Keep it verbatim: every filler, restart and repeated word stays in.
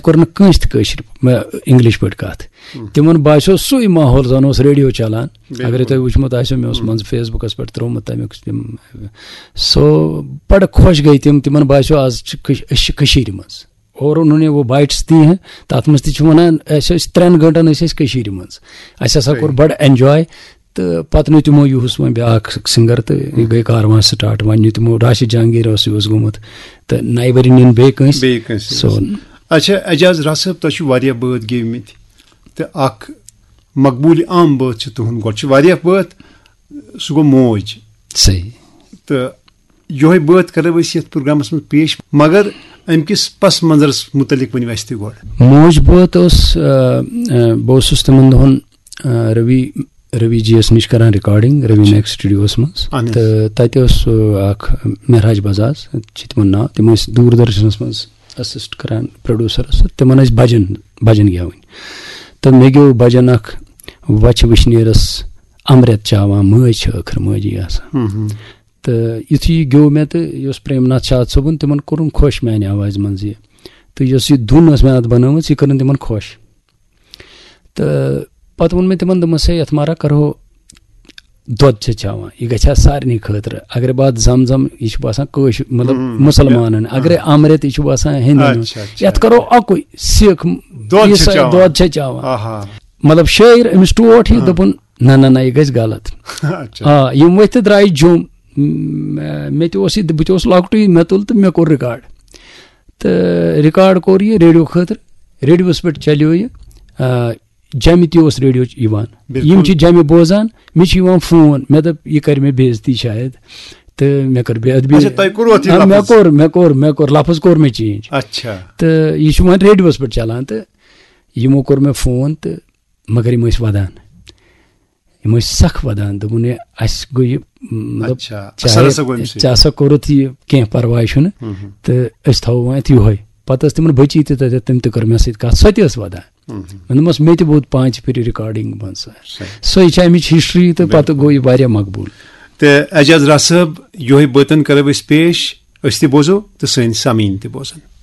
کوٚر نہٕ کٲنٛسہِ تہِ کٲشِر، مےٚ، انگلش پٲٹھۍ کتھ۔ تِمن باسیو سُے ماحول، زن اوس ریڈیو چلان۔ اگرے تۄہہِ وٕچھمُت آسیو، مےٚ اوس منٛزٕ فیس بُکس پٮ۪ٹھ ترٛوومُت تمیُک تِم، سو بڑٕ خۄش گٔے تِم، تِمن باسیو آز چھِ کٔش-، أسۍ چھِ کٔشیٖرِ منٛز۔ اور انہوں نے وہ بائٹس دی ہیں، تتھ منٛز تہِ چھِ ونان، أسۍ ٲسۍ ترٛٮ۪ن گٲنٛٹن ٲسۍ أسۍ کٔشیٖرِ منٛز، اَسہِ ہسا کوٚر بڑٕ اینجاے۔ تہٕ پتہٕ نیوٗ تِمو یُہُس وۄنۍ بیٛاکھ سِنگر تہٕ یہِ گٔے کاروان سٹارٹ۔ وۄنۍ نیوٗ تِمو، راشد جہانگیر اوس یہِ اوس گوٚمُت، تہٕ نَیہِ ؤری نِن بیٚیہِ کٲنٛسہِ۔ بیٚیہِ کٲنٛسہِ سو اوس۔ اچھا، اعجاز راز صٲب، تۄہہِ چھِو واریاہ بٲتھ گیٚومٕتۍ تہٕ اکھ مقبوٗل عام بٲتھ چھِ تُہُنٛد، گۄڈٕ چھِ واریاہ بٲتھ، سُہ گوٚو موج۔ صحیح۔ تہٕ یِہوٚے بٲتھ کرو أسۍ یَتھ پروگرامس منٛز پیش، مگر اَمہِ کِس پس منظرس مُتعلق ؤنِو اَسہِ تہِ گۄڈٕ۔ موج بٲتھ اوس، آ، آ، بہٕ اوسُس تِمن دۄہن، آ، روی، روی جی یس نِش کران ریکارڈنگ، روی میک سٹوڈیوس منٛز۔ اہن حظ۔ تہٕ تتہِ اوس، آ، اکھ مہراج بزاز چھِ تِمن ناو، تِم ٲسۍ دوٗر درشنس منٛز اسسٹ کران پروڈیوسرس، تہٕ تِمن ٲسۍ بجن، بجن گٮ۪وٕنۍ۔ تہٕ مےٚ گیوٚو بجن اکھ، وچھِ وٕشنیرس امرت چاوان، مٲج چھِ ٲخر مٲجی آسان۔ ہم ہم۔ تہٕ یُتھُے یہِ گیوٚو مےٚ تہٕ یہِ اوس پرٛیم ناتھ شاد صٲبُن، تِمن کوٚرُن خۄش میانہِ آوازِ منٛز یہِ۔ تہٕ یۄس یہِ دُن ٲس مےٚ اتھ بنٲومٕژ، یہِ کٔرٕن تِمن خۄش۔ تہٕ پتہٕ ووٚن مےٚ تِمن، دوٚپمس، ہے، یتھ ما کرہو دۄد چھِ چٮ۪وان، یہِ گژھِ ہا سارنٕے خٲطرٕ۔ اگرے بہٕ اتھ زم زم، یہِ چھُ باسان کٲشُر، مطلب، ہم، مُسلمانن۔ اگرے امرت، یہِ چھُ باسان ہندین۔ اچھا، اچھا۔ یتھ کرو اکُے، سِکھ دۄد چھِ عیسائی چٮ۪وان۔ دۄد چھِ چٮ۪وان۔ آہا۔ مطلب، شٲعر أمِس ٹوٹھ یہِ، ہاں۔ دوٚپُن، نہ، نہ، نہ، یہِ گژھِ غلط۔ اچھا۔ آ، یِم ؤتھۍ تہٕ درٛایہِ جوٚم۔ م-، مےٚ تہِ اوس یہِ، بہٕ تہِ اوسُس لۄکٹُے، مےٚ تُل تہٕ مےٚ کوٚر ریکارڈ۔ تہٕ ریکارڈ کوٚر یہِ ریڈیو خٲطرٕ، ریڈیوس پٮ۪ٹھ چلیو یہِ۔ آ، جمہِ تہِ اوس ریڈیو یِوان۔ بِلکُل۔ یِم چھِ جمہِ بوزان، مےٚ چھُ یِوان فون، مےٚ دوٚپ، یہِ کرِ مےٚ بے عزتی شاید۔ تہٕ مےٚ کٔر بے ادبی۔ اچھا، تۄہہِ کوٚروٕ اَتھ یہِ آ، مےٚ لفظ؟ کوٚر، مےٚ کوٚر، مےٚ کوٚر، لفظ کوٚر مےٚ چینج۔ اچھا۔ تہٕ یہِ چھُ وۄنۍ ریڈیوس پٮ۪ٹھ چلان تہٕ یِمو کوٚر مےٚ فون تہٕ مگر یِم ٲسۍ ودان۔ یِم ٲسۍ سخ ودان، دوٚپُن، ہے، اَسہِ گوٚو یہِ، مطلب، اچھا، چاہے اثر ہسا گوٚو اَمہِ سۭتۍ۔ ژےٚ ہسا کوٚرُتھ یہِ، کینٛہہ پرواے چھُنہٕ، ہم ہم۔ تہٕ أسۍ تھاوو وۄنۍ اَتھ یِہوٚے۔ پتہٕ ٲس تِمن بچی تہِ تتٮ۪تھ، تِم تہِ کٔر مےٚ سۭتۍ کتھ، سۄ تہِ ٲس ودان۔ ہم ہم۔ مےٚ دوٚپمس، مےٚ تہِ ووت پانٛژِ پھِرِ ریکارڈنگ منٛز۔ صحیح۔ سۄے چھےٚ اَمِچ ہسٹری تہٕ پتہٕ بِلکُل۔ گوٚو یہِ واریاہ مقبوٗل۔ تہٕ اعجاز راز صٲب، یِہوٚے بٲتن کرو أسۍ پیش، أسۍ تہِ بوزو تہٕ سٲنۍ سامعیٖن تہِ بوزن۔